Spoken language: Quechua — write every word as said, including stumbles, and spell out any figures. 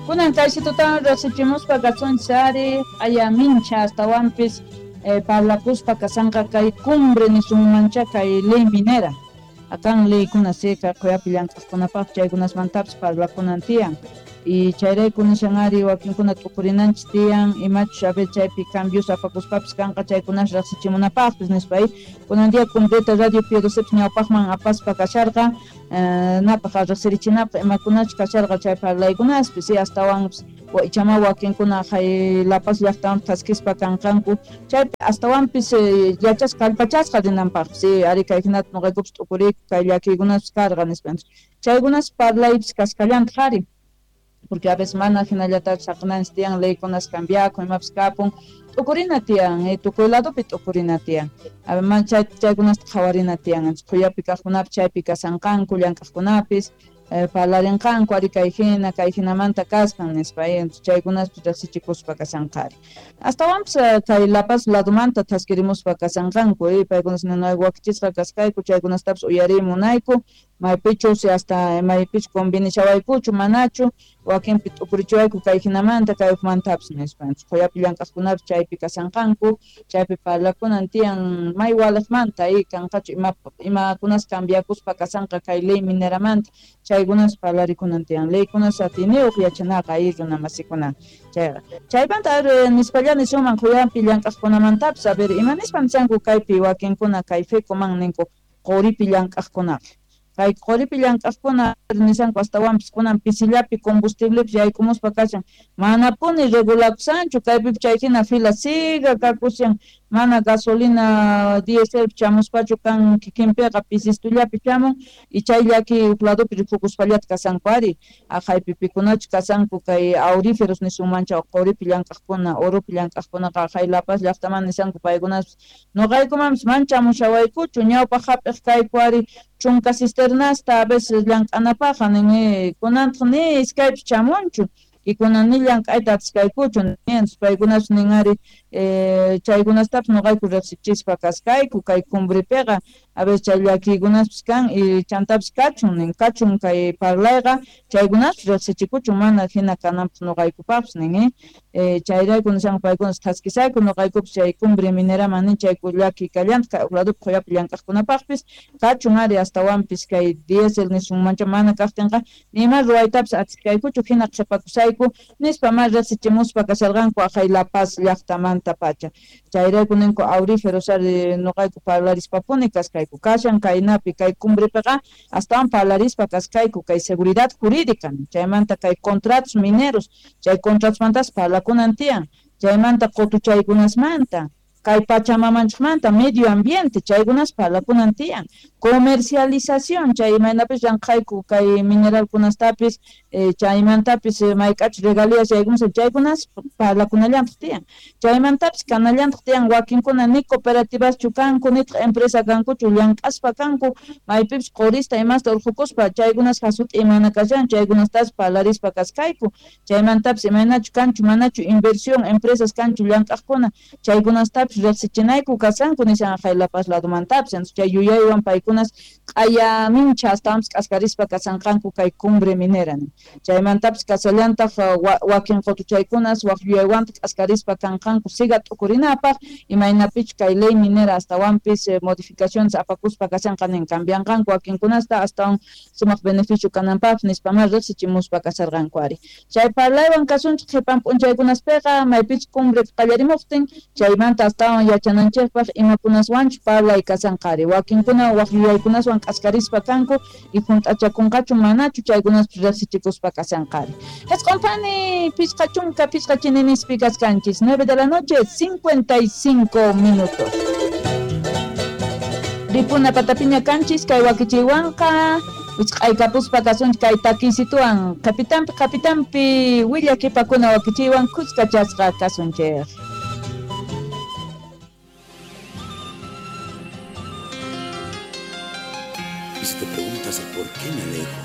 Kunan kaysitutawan riqsichimuspa kasunchis ari aya mincha astawanpis eh, parlakuspa kasanqa kay cumbre nisunmancha kay ley minera. Akan leykuna sika quyapi llank'aqkunapaq chaykunasmantapis parlakunan tiyan. Y chayrayku nishan ari wakinkuna t'ukurinanchis tiyan imachus a ver chaypi cambios apakuspapis kanqa chaykunas riqsichimunapaqpis nispa. Kunan día cumbreta radio P doce ñawpaqman apaspa kasharqa eh, napaq riqsirichinapaq imakunachus kasharqa chay parlaykunaspis y astawanpis ichama wakinkuna hay La Paz llaqtaman thaskispa kanqanku chaypi astawanpis eh, yachasqa kallpachasqa rinanpaqpis sí, ari kay hinata nuqaykupis t'ukuriyku kay llakiykunaspis karqa nispa. Chaykunas parlaypis kaskallantaq ari porque a veces mana hinallatachu saqinanchis tiyan leykunas cambiakun imapis kapun t'ukurina tiyan eh, tukuy ladopi t'ukurina tiyan a man chay chaykunasta qhawarina tiyan quyapi kaqkunapis chaypi kasanqanku llank'aqkunapis eh, parlarinqanku ari kay hina kay hinamanta kasqan nispa eh, chaykunaspis riqsichikuspa kasanqari astawanpis eh, kay La Paz ladomanta thaskirimuspa kasanqanku eh, paykunas nunayku wakichisqa kaskayku chaykunastapis uyariy munayku maypichus hasta maypichus convenishawaykuchu manachu wakinpi t'ukurichiwayku kay hinamanta kay hukmantapis nispa. Quyapi llank'aqkunapis chaypi kasanqanku chaypi parlakunan tiyan may waliqmanta y kanqachu ima imakunas cambiakuspa kasanqa kay ley mineramanta chaykunas parlarikunan tiyan leykunas atiyniyuq yachanaqa ay runa masikuna chayqa chaymanta a nispalla nisunman quyapi llank'aqkunamantapis a ver ima nispa nishanku kaypi wakinkuna kay FECOMAN ninku quripi llank'aqkunaqa kay quripi llank'aqkuna nishanku astawanpis kunan pisillapi combustiblepis yaykumuspa kashan manapuni regulakusanchu kaypipi chay hina fila siga kakushan mana gasolina diesel chamuspachu kan kikinpiqa pisistullapi chamun y chay llaki huk ladopi rikukuspallata kasanku ari aqhaypi pikunachu kasanku kay auríferos nisunmancha quripi llank'aqkuna oropi llank'aqkunaqa aqhay La Paz llaqtaman nishanku paykunaspis nuqaykumanpis mana chamushawaykuchu ñawpaq hap'iq kayku ari chunka cisternasta a veces llank'anapaqqa nin kunantaq ni iskaypis chamunchu y kunan ni llank'ayta atiskaykuchu paykunapas nin ari eh, chaykunastapis nuqayku riqsichispa kaskayku kay cumbrepiqa a veces chay llakiykunaspis kan y chantapis kachun nin kachun kay parlayqa chaykunaspis riqsichikuchun mana hina kananpaq nuqaykupaqpis nin eh, chayrayku nishanku paykunas thaskisayku nuqaykupis chay cumbre mineraman nin chayku llaki kallantaq kay huk ladopi quyapi llank'aqkunapaqpis kachun ari astawanpis kay diésel nisunmancha mana kaqtinqa nima ruwaytapis atiskaykuchu hina qhipakusayku nispa ma riqsichimuspa kasharqanku aqhay La Paz llaqtamanta pacha chayrayku ninku auríferos ari nuqayku parlarispapuni kaskayku kashan kaynapi kay cumbrepiqa astawan parlarispa kaskayku kay seguridad jurídica chaymanta kay contratos mineros chay contratosmantas parlakunan tiyan chaymanta qutuchaykunasmanta kay pachamamanchikmanta medio ambiente chaykunas parlakunan tiyan comercialización chay imaynapis llanqhayku kay mineralkunastapis eh, chaymantapis eh, mayk'achus regalías chaykunas chaykunas parlakunallantaq tiyan chaymantapis kanallantaq tiyan wakinkuna ni cooperativaschu kanku nitaq empresa kankuchu llank'aspa kanku maypipis qurista imasta urqukuspa chaykunas hasut'i mana kashan chaykunastas parlarispa kaskayku chaymantapis imaynachu kanchu manachu inversión empresas kanchu llank'aqkuna chaykunastapis riqsichinayku kasanku nishan aqhay La Paz ladomantapis chay yuyaywan paykunas q'aya mincha astawanpis k'askarispa kasanqanku kay cumbre minera chaymantapis kasallantaq wakin qutuchaykunas wak yuyaywantaq k'askarispa kanqanku siga t'ukurinapaq imaynapichu kay ley minera astawanpis eh, modificaciones apakuspa kashanqa nin cambianqanku wakinkunasta astawan sumaq beneficio kananpaqpis nispa ma riqsichimuspa kasharqanku ari chay parlaywan kasunchik qhipan p'unchaykunaspiqa maypichu cumbre qallarimuqtin chaymanta astawan yachananchikpaq imakunaswanchu parlay kasanqa ari wakinkuna wak yuyaykunaswan k'askarispa kanku y hunt'achakunqachu manachu chaykunaspis riqsichikuspa kasanqa ari Hesqonfani pichqa chunka pichqa chininispi kaskanchis nueve de la noche cincuenta y cinco minutos ripuna patapiña kanchis kay wakichiywanqa wichq'aykapuspa kasunchik kay takisituwan qapitanpi qapitanpi willakipakuna wakichiywan kuskachasqa kasunchik.